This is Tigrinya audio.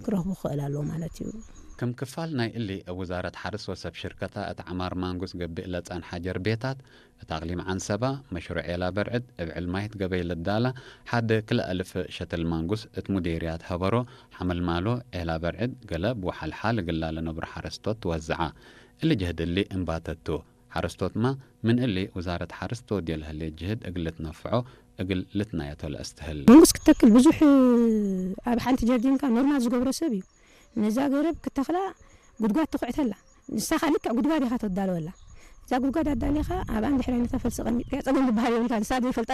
ክረኽቡ ክኽእል ኣለዎ ማለት እዩ። ከም ክፋል ናይ እሊ ኣብ ውዛረት ሓርስ ወሰብ ሽርከታ እቲ ዓማር ማንጉስ ገቢእ ለጸን ሓጀር ቤታት እቲ ኣቕሊም ዓንሰባ መሽሩዕ ኤላ በርዕድ እብዕል ማይት ገበይ ልዳላ ሓደ ክልተ ኣልፍ ሸትል ማንጉስ እቲ ሙዴርያት ሀበሮ ሓመልማሎ ኤላ በርዕድ ገለ ብውሓልሓ ልግላ ለነብሩ ሓረስቶት ትወዝዓ። እሊ ጀህድ እሊ እምባተቱ ሓረስቶትማ ምን እሊ ውዛረት ሓርስ ተወድዮ ለህሌት ጅህድ እግል ልትነፍዖ እግል ልትናየቶ ለእስትህል። መንግስት ክትተክል ብዙሕ ኣብ ሓንቲ ጀርዲንካ ኖርማል ዝገብሮ ሰብ እዩ። ነዛ ገረብ ክተኽላ ጉድጓድ ትኹዕተላ። ንሳኻ ልክዕ ጉድጓድ ኢኻ ተዳለወላ። እዛ ጉድጓድ ኣዳሊኻ ኣብ ኣንድ ሕራይ ነታ ፈልሲ ቀሚጥካ ጸገም ዝበሃል የብልካ። ንሳ ዘይፈልጣ